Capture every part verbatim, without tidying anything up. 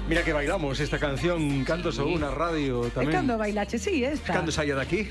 Mira que bailamos esta canción, canto sobre unha radio tamén. E cando bailache, sí, esta. Cando saia daqui.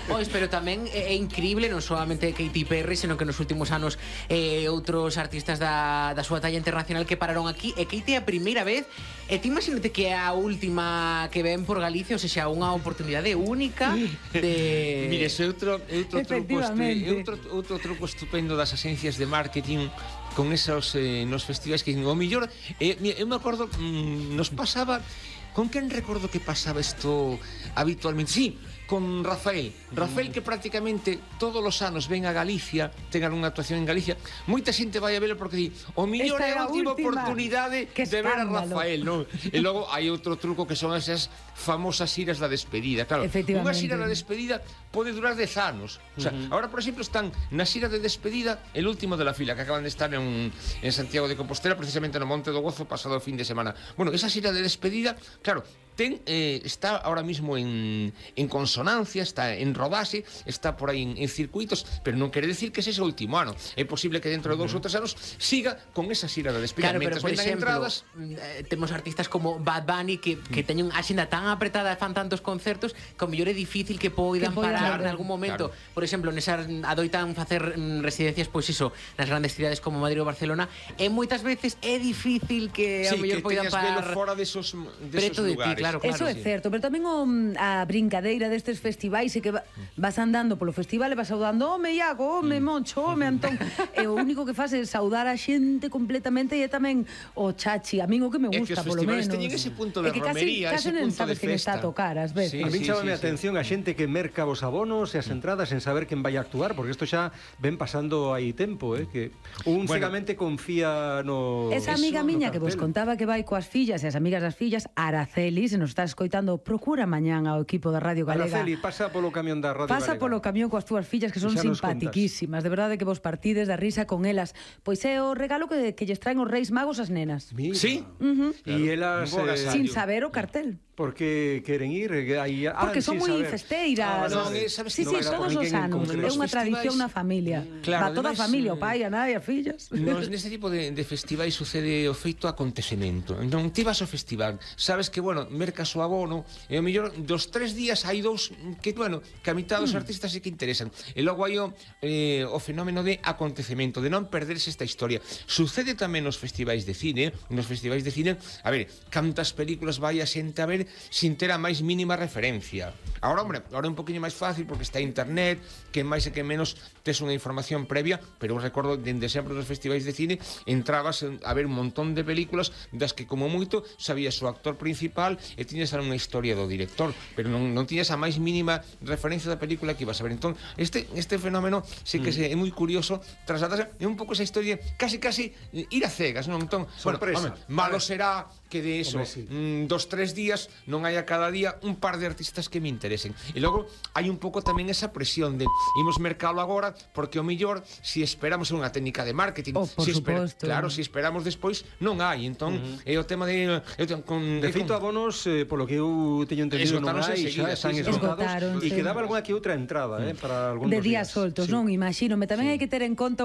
Pois, pero tamén é increíble non solamente Katy Perry, senón que nos últimos anos eh, outros artistas da, da súa talla internacional que pararon aquí. E Katy é a primeira vez, e ti imagínate que é a última que ven por Galicia, ou seja, unha oportunidade única de... Mire, ese outro, outro, truco, estu... outro, outro truco estupendo das agencias de marketing con esos eh, nos festivais que o millor eh, eu me acordo mmm, nos pasaba con quen recordo que pasaba isto habitualmente, sí, con Rafael Rafael que prácticamente todos os anos ven a Galicia, ten algunha actuación en Galicia, moita xente vai a velo porque di o millor é a última oportunidade de ver a Rafael, non? E logo hai outro truco que son esas famosas xiras da despedida, claro, unha xira da despedida pode durar dez anos, o sea, uh-huh. Ahora por exemplo están na xira de despedida el último de la fila, que acaban de estar en, en Santiago de Compostela, precisamente no Monte do Gozo pasado o fin de semana. Bueno, esa xira de despedida, claro, ten, eh, está ahora mismo en, en consonancia, está en rodaxe, está por aí en, en circuitos, pero non quere decir que ese é o último ano. É posible que dentro de dous ou tres anos siga con esa xira de despedida. Claro, pero por exemplo, entradas... eh, temos artistas como Bad Bunny que, que mm. teñen a xenda tan apretada e fan tantos concertos que o mellor é difícil que poidan parar en algún momento. Claro. Por exemplo, nesa adoitan facer mm, residencias, pois iso, nas grandes cidades como Madrid ou Barcelona, e moitas veces é difícil que sí, a mellor poidan parar fora desos, preto de ti, claro, claro. Eso é certo, pero tamén o, a brincadeira destes festivais é que va, vas andando polo festival e vas saudando home Iago, home Moncho, home Antón, e o único que faz é saudar a xente completamente, e é tamén o chachi, a min o que me gusta, polo menos. Teñen ese punto de romería, ese punto de festa. É que casi, casi non sabes quen está a tocar, ás veces. Sí, a mí sí, chámame sí, a atención sí. A xente que merca os abonos e as entradas sen saber quen vai a actuar, porque isto xa ven pasando aí tempo, eh, que un bueno, cegamente confía no... Esa amiga eso, miña que vos contaba que vai coas fillas e as amigas das fillas, Araceli, se nos está escoitando, procura mañán ao equipo da Radio Galega. Araceli, pasa polo camión da Radio pasa Galega. Polo camión coas túas fillas que son simpatiquísimas, de verdade que vos partides da risa con elas. Pois é o regalo que, que lles traen os Reis Magos as nenas. Mira. Sí? Uh -huh. E elas... Eh, sin saber o cartel. Porque queren ir aí, ah, porque son moi saber. festeiras. Ah, non, é, sabes, sí, no, sí, todos os anos. É unha tradición na familia. Claro, va toda a familia, o pai, a nai, as fillas. Nos, neste tipo de, de festivais sucede o feito acontecemento. Entón, ti vas ao festival, sabes que, bueno, mercas o abono, e o mellor dos tres días hai dous que, bueno, que a mitad dos mm. artistas sí que interesan. E logo hai o, eh, o fenómeno de acontecemento, de non perderse esta historia. Sucede tamén nos festivais de cine, nos festivais de cine, a ver, cantas películas vai a xente a ver sin ter a máis mínima referencia. Agora, hombre, agora é un poquinho máis fácil porque está internet, que máis e que menos tes unha información previa, pero eu recordo dende sempre nos festivais de cine entrabas a ver un montón de películas das que como moito sabías o actor principal e tiñas unha historia do director, pero non, non tiñas a máis mínima referencia da película que ibas a ver. Entón, este, este fenómeno sí que mm. é moi curioso, trasladarse, é un pouco esa historia casi casi ir a cegas, non? Entón, sorpresa. Bueno, home, malo será que de eso, hombre, sí. mm, dos, tres días non hai a cada día un par de artistas que me interesen. E logo hai un pouco tamén esa presión de imos mercalo agora porque o mellor si esperamos unha técnica de marketing, oh, por si esper suposto. Claro, si esperamos despois non hai. Entón, uh -huh. é o tema de eu ten, con de feito abonos, eh, polo que eu teño entendido non hai, xa están esgotados e quedaba algunha que outra entrada, eh, para algún de días soltos, non? Imagínome, tamén hai que ter en conta